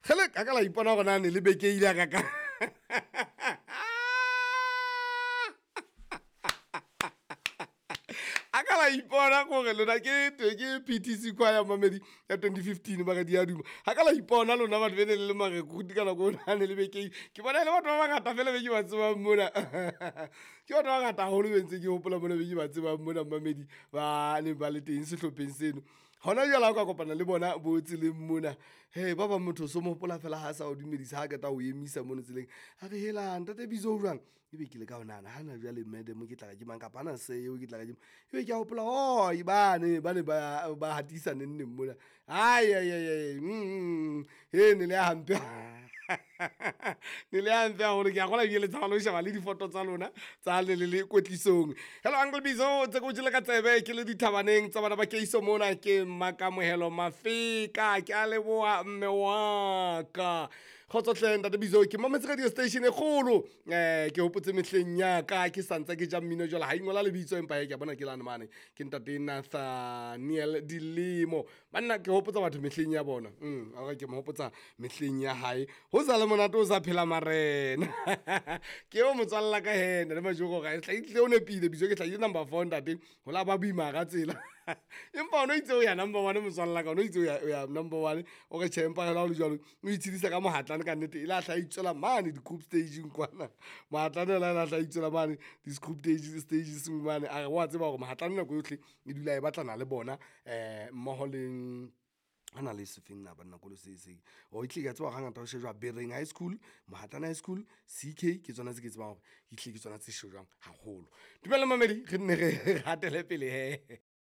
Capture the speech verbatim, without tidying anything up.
Kgele, ka ka la ipona gore na ne le bekeile a kaka. A ka la ipona gore lona ke ke P T C choir, mamedi, ya twenty fifteen magadi a duma. Ga ka la ipona lona batho be ne le le marekruti ka nako o ne le bekeile. Ke bona e le batho ba bangata fela be ke ba tsebang mona. Ke batho ba bangata haholo be ntse ke hopola mona, be ke ba tsebang mona, mamedi, ba neng ba le teng sehlopheng seno. Hona jwale ha o ka kopana le bona bo tseleng mona, he, ba bang motho o so mo hopola fela ha sa o dumedisa, ha qeta ho emisa mono tseleng, a re, "Helang, ntate Bizo, o jwang?" Ebe ke le ka ho nahana hana jwale, madam, ke tla re ke mang, kapa ana se eo ke tla re ke mang? Ebe ke a hopola, oh, bane ba ne ba ba hatisa neng neng mona. Ai ai ai ai, mm he, ne le ya hampe, ne le hampe haholo. Ke a kgola ebile le tshaba le ho sheba le difoto tsa lona tsa le le le kwetlisong. Hello, Uncle Bizo, tse ko jele ka tsebe ke le dithabaneng tsa bana ba keiso mona. Ke Mmakamohelo Mafeka, ke a leboha mme wa ka. Kgotso hle ntate Bizo, ke mametse radio station e kgolo. um ke hopotse mehleng ya ka ke santsa ke ja mmino jwale ha ingola lebitso, empa he ke a bona ke lane mane, ke ntate Nathaniel Dilemo. Banna, ke hopotsa batho mehleng ya bona. mm ke mo hopotsa mehleng ya hae, ho sa le monate, o sa phela marena. Ke eo motswalla ka he, ntate Majoko, ga hlaile o nepile. Bizo ke hlahile number four, ntate, ho la ba boima ka tsela, empa o no itse o ya number one. Motswalla ka o no itse o ya- o ya number one. O re tjhe, empa hela ho le jwalo o itshedisa ka mohatlane. Ka nnete e la hla itswela mane di-group staging kwana. Mohatlane ela la hla itswela mane di-group stages stages mane. A re wa tseba hore mohatlane nako yohle e dula e batlana le bona, um mmoho le a na le sefeng na banna kolo se se o ehlile ke a tseba hore hangata ho shejwa Bereng High School, Mohatlane High School, C K. Ke tsona tse ke tsebang hore ehlile ke tsona tse shejwang haholo. Dumela mamedi, re nne re hatele pele he.